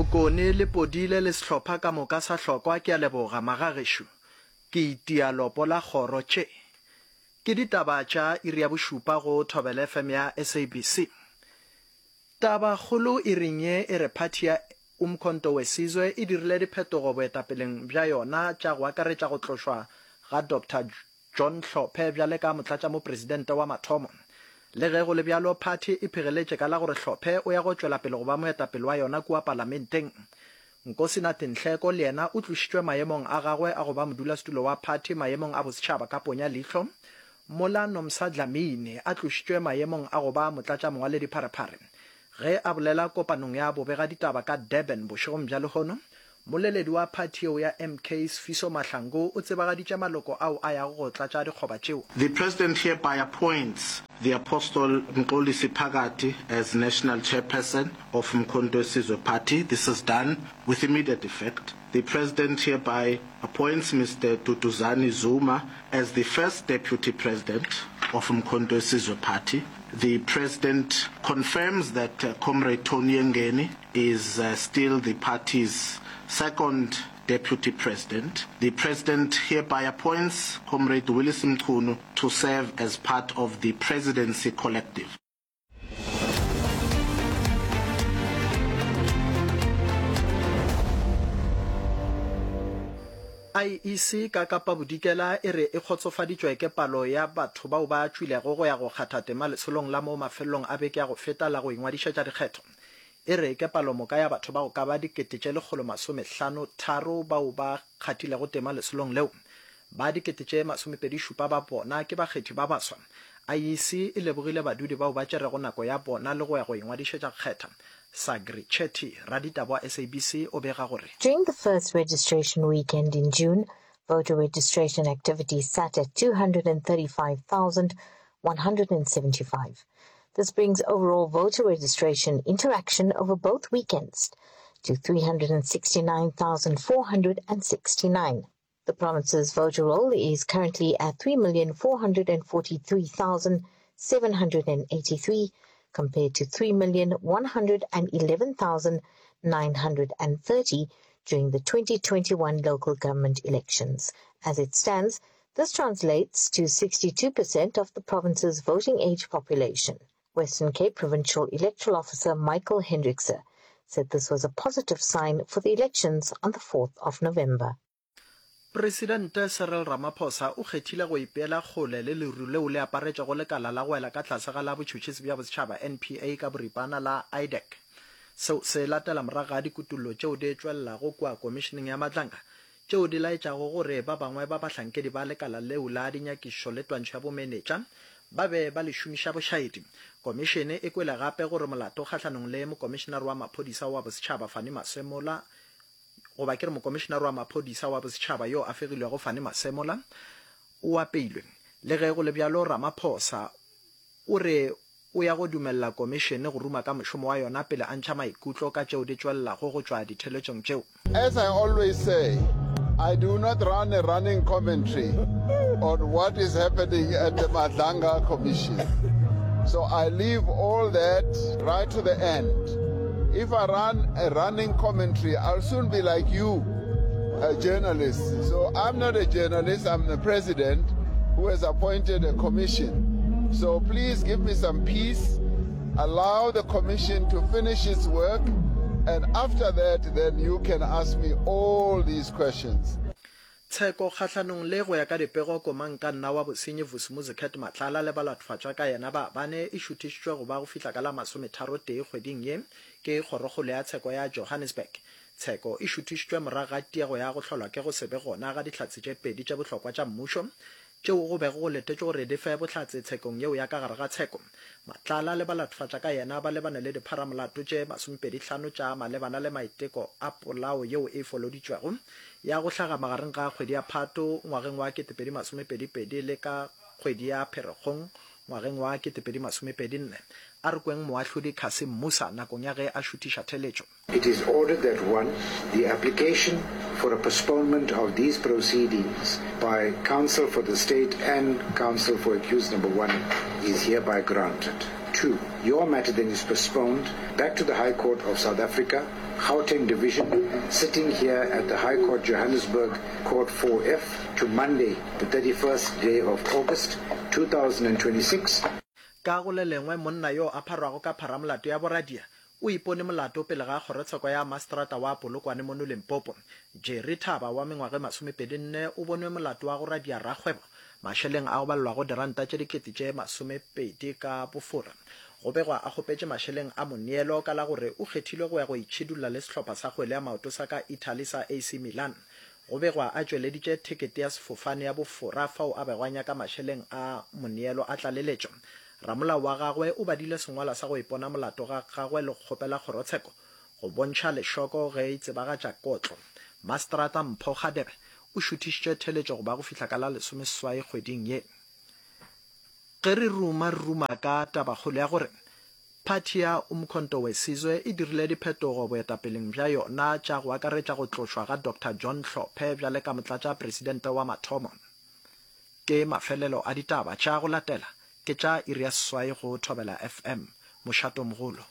Mokone le Podile le sehlopha ka moka sa Hlokwa ke a leboga magagešo. Ke itia lopo la kgoro tše. Ke ditaba tša iri ya bošupa go Thobela FM ya SABC. Taba kgolo iring ye e re phathi ya Umkhonto weSizwe e dirile diphetogo boetapeleng bja yona tša go akaretša go tlošwa ga Doctor John Hlophe bjale ka motlatšamopresidente wa mathomo. Le ge go le bjalo, phathi e phegeletše ka la gore Hlophe o ya go tšwela pele go ba moetapele wa yona kua palamenteng. Nkosinathi Nhleko le yena o tlošitšwe maemong a gagwe a go ba modulasetulo wa phathi maemong a bosetšhaba ka ponya leihlo, mola Nomsa Dlamini a tlošitšwe maemong a go ba motlatšamongwaledipharephare. Ge a bolela kopanong ya bobegaditaba ka Durban bošegong bja lehono, moleledi wa phathi yeo ya MK Sifiso Mahlangu o tsebagaditše maloko ao a yago go tlatša dikgoba tšeo. The President hereby appoints the Apostle Mxolisi Phakathi as National Chairperson of Mkhonto weSizwe Party. This is done with immediate effect. The President hereby appoints Mister Duduzane Zuma as the First Deputy President of Mkhonto weSizwe Party. The President confirms that Comrade Tony Yengeni is still the party's Second Deputy President. The President hereby appoints Comrade Willies Mchunu to serve as part of the Presidency Collective. IEC ka Kapa Bodikela e re e kgotsofaditšwe ke palo ya batho bao ba tšwilego go ya go kgatha tema lesolong la mo mafelelong a beke ya go feta la go ingwadišetša dikgetho. E re ke palomoka ya batho ba go ka ba 153 bao ba kgathilego tema lesolong leo. Ba 27 ba bona ke bakgethi ba baswa. IEC e lebogile badudi bao ba tšerego nako ya bona le go ya go ingwadišetša go kgetha. Sagri Chetty, raditaba wa SABC o bega gore. During the first registration weekend in June, voter registration activity sat at 235,175. This brings overall voter registration interaction over both weekends to 369,469. The province's voter roll is currently at 3,443,783 compared to 3,111,930 during the 2021 local government elections. As it stands, this translates to 62% of the province's voting age population. Western Cape Provincial Electoral Officer Michael Hendrickse said this was a positive sign for the elections on the 4th of November. Presidente Cyril Ramaphosa o kgethile go ipeela kgole le leru leo le aparetšego lekala la go wela ka tlase ga la Botšhotšhisi bja Bosetšhaba, NPA, ka boripana la IDAC. Seo se latela morago ga dikutullo tšeo di tšwelelago kua Komišeneng ya Madlanga tšeo di laetšago gore ba bangwe ba bahlankedi ba lekala leo la dinyakišišo le twantšho ya bomenetša ba be ba le šomiša bošaedi. Komišene e kwele gape gore molato kgahlanong le Mokomišenare wa Maphodisa wa Bosetšhaba Fannie Masemola goba ke re Mokomišenare wa Maphodisa wa Bosetšhaba yo a fegilwego Fannie Masemola o apeilwe. Le ge go le bjalo Ramaphosa o re o ya go dumelela komišene go ruma ka mošomo wa yona pele a ntšha maikutlo ka tšeo di tšwelelago go tšwa ditheletšong tšeo. As I always say, I do not run a running commentary on what is happening at the Madlanga Commission. So I leave all that right to the end. If I run a running commentary, I'll soon be like you, a journalist. So I'm not a journalist, I'm the president who has appointed a commission. So please give me some peace, allow the commission to finish its work, and after that, then you can ask me all these questions. Tsheko kgahlanong le go ya ka dipego komangkanna wa bosenyi Vusimuzi Cat Matlala le balathofatšwa ka yena ba bane e šuthišitšwe go ba go fihla ka la masometharotee kgweding ye ke Kgorokgolo ya Tsheko ya Johannesburg. Tsheko e šuthišitšwe morago ga tiego ya go hlolwa ke go se be gona ga dihlatse tše pedi tše bohlokwa tša mmušo tšeo go bego go letetšwe gore di fe bohlatse tshekong yeo ya ka gare ga tsheko. Matlala le balathofatša ka yena ba lebane le dipharamolato tše masomepedihlano tša malebana le maiteko a polao yeo e foloditšwego ya go hlaga magareng ga kgwedi ya Phato ngwageng wa 2022 le ka kgwedi ya Pherekgong ngwageng wa 2024. A re kweng Moahlodi Cassim Moosa nakong ya ge a šuthiša theletšo. It is ordered that one, the application for a postponement of these proceedings by counsel for the state and counsel for accused number one is hereby granted. 2. Your matter then is postponed back to the High Court of South Africa, Gauteng Division, sitting here at the High Court Johannesburg, Court 4F, to Monday, the 31st day of August 2026. Ka go le lengwe, monna yo a pharwago ka pharamolato ya boradia o ipone molato pele ga kgorotsheko ya maseterata wa Polokwane mono Limpopo. Jerry Thaba wa mengwaga e masomepedi-nne o bonwe molato wa go radia rakgwebo mašeleng a go balelwago diranta tše dikete tše masomepedi ka bofora. Go begwa a kgopetše mašeleng a moneelo ka la gore o kgethilwe go ya go itšhidulla le sehlopha sa kgwele ya maoto sa ka Italy sa AC Milan. Go begwa a tšweleditše thekete ya sefofane ya bofora fao a bego a nyaka mašeleng a moneelo a tlaleletšo. Ramolao wa gagwe o badile sengwalwa sa go ipona molato ga gagwe le go kgopela kgorotsheko go bontšha lešoko ge e tsebagatša kotlo. Maseterata Mpho Kgadebe o šuthišitše theletšo go ba go fihla ka la lesomeseswai kgweding ye. Ge re ruma re ruma ka tabakgolo ya gore phathi ya Umkhonto weSizwe e dirile diphetogo boetapeleng bja yona tša go akaretša go tlošwa ga Doctor John Hlophe bjale ka motlatšapresidente wa mathomo. Ke mafelelo a ditaba tša go latela ke tša iri ya seswai go Thobela FM, mošatomogolo.